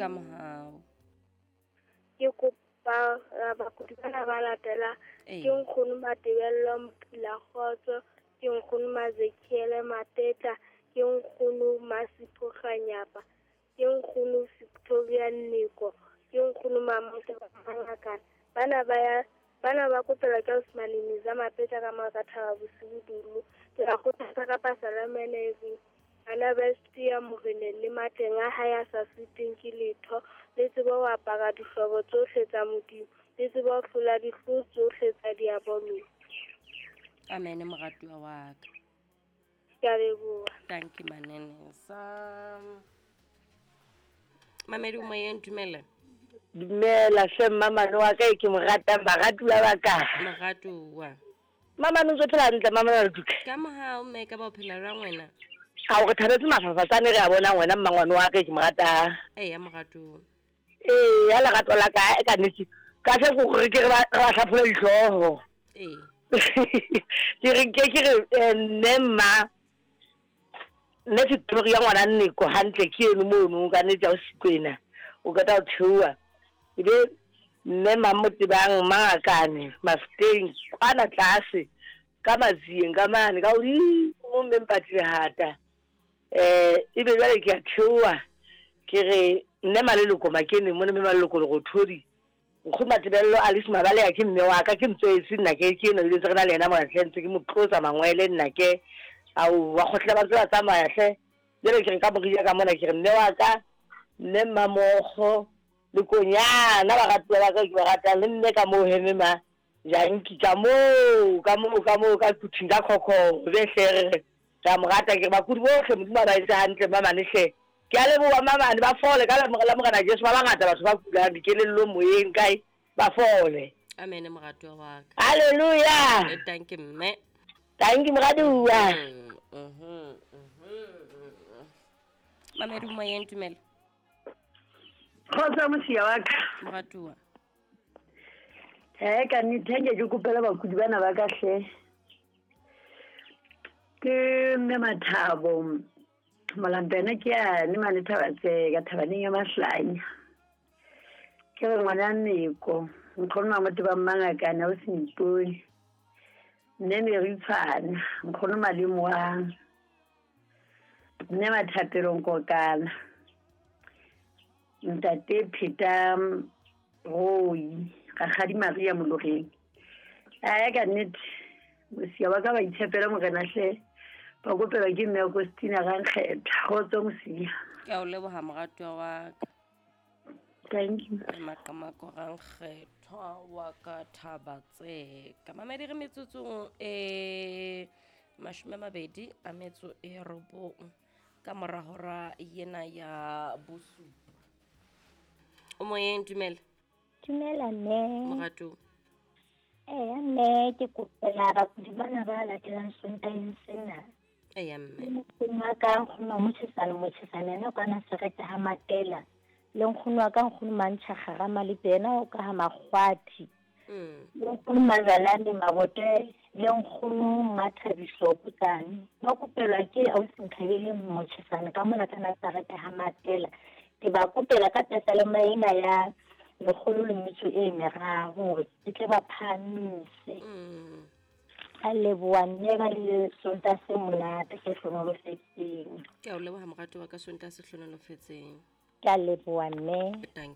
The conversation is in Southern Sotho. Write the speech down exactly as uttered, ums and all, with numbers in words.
Ka mohau. Ke kopa bakudi bana ba latela Ee. ke nkgono Matebello Mpula Kgotso, ke nkgono Mazekiele Matetla, ke nkgono Masipho Kganyapa, ke nkgono Victoria Nneko, ke nkgono Mamote Mangakana. Bana ba ya bana ba kopela ke Osmane Miza Mapetla ka mora Thaba bosiu dulu. Ke ba kgothatsa ka pasalamene e bana ba siya moreneng le matleng a hae a sa sitweng ke letho. Le tsebe ho apara dihlobo tsohle tsa Modimo, le tsebe ho hlola dihloho tsohle tsa diabolo. Amen moratuwa wa ka. Ke a leboha. Thank you manene. Sa Mamedi o moyeng, dumela. Dumela hle mmamane wa ka e ke mo ratang, baratuwa ba ka. Moratuwa. Mamane o ntso phela hantle, mamane wa Leduka. Ka mohau mme ka ba o phela jwang wena? Ha o re thabetse mafafatsane re a bonang wena mmangwane wa ka e ke mo ratang. Eya moratuwa. Ee, ya lerato la ka e ka nnete. Ka se ko re ke re ba re ba hlaphola dihlooho. Ee. Ke re ke ke re eh, mme mma nne Victoria ya ngwana Nneko hantle ke eno mono ka nnete ha o sikwena. O qeta ho theoha. Ebe mme Mamotebang Mangakane Mafeteng kwana tlase ka Matsieng ka mane ka hodimo mme Mpati Lehata. Eh ebe jwale ke a theoha ke re nne Maleloko Makene mona mme Maleloko Lerothodi. Nkgono Matebello Alice Mabaleha ke mme wa ka ke ntswetse nna ke ke ena le ntse re na le yena mona hle ntse ke mo tlotsa mangwele nna ke ao wa kgotla ba ntse ba tsamaya hle. Jwale ke re ka morija ka mona ke re mme wa ka mme Mmamokgo le Konyana baratuwa ba ka ke ba ratang le mme ka moo heme ma Janki ka moo ka moo ka moo ka Quthing ka Khokho be hle re re re a mo rata ke re bakudi bohle Modimo a ba etse hantle mamane hle. Ke a leboha mamane ba fole ka la la Morena Jesu ba bangata batho ba kulang dikelellong moyeng kae ba fole. Amen moratuwa wa ka. Hallelujah. Eh, thank you mme. Thank you moratuwa. Mm, mhm, mhm. Mamedi moyeng, dumela. Kgotso mosia wa ka. Moratuwa. Eh ka nnete ha nke ke kopela bakudi bana ba ka hle. Ke mme Mathabo Molampene ke yane mane Thabatseka thabaneng ya Mahlanya. Ke re ngwana Nneko nkgono Mamotebang Mangakane ha o se mpone. Mme Meritshwana nkgono Malemoang. Mme Mathapelo Nkokana. Ntate Pheta Roi Rakgadi Maria Moloreng. Ae ka nnete mosia wa ka ba itshepela Morena hle. Ba kopelwa ke mme Agostina Rankgetha. Kgotso mosia. Ke a o leboha moratuwa wa ka. Thank you. Maqamako Rankgethwa wa ka Thabatseka. Mamedi re metsotsong e mashome a mabedi a metso e robong ka mora hora ena ya bosupa. O moyeng, dumela. Dumela mme. Moratuwa. Eya mme ke kopela bakudi bana ba latelang Sontaheng sena. Eya mme. Nkgono wa ka nkgono Motjhesane Motjhesane yena o ka Nasaretha ha Matela. Le nkgono wa ka nkgono Mantjha Kgarama le yena o ka ha Makgwathi. Mm. Le nkgono Mazalane Mabote le nkgono Mathabiso Potsane. Ba kopelwa ke ausi Nkhabele Motjhesane ka mona ka Nasaretha ha Matela. Ke ba kopela ka pesalema ena ya lekgolo le metso e meraro hore ke tle ba phahamise. Mm. A leboha mme ba le Sontaha se monate se hlohonolofetseng. Ke a o leboha moratuwa ka Sontaha se hlohonolofetseng. Ke a leboha mme. Thank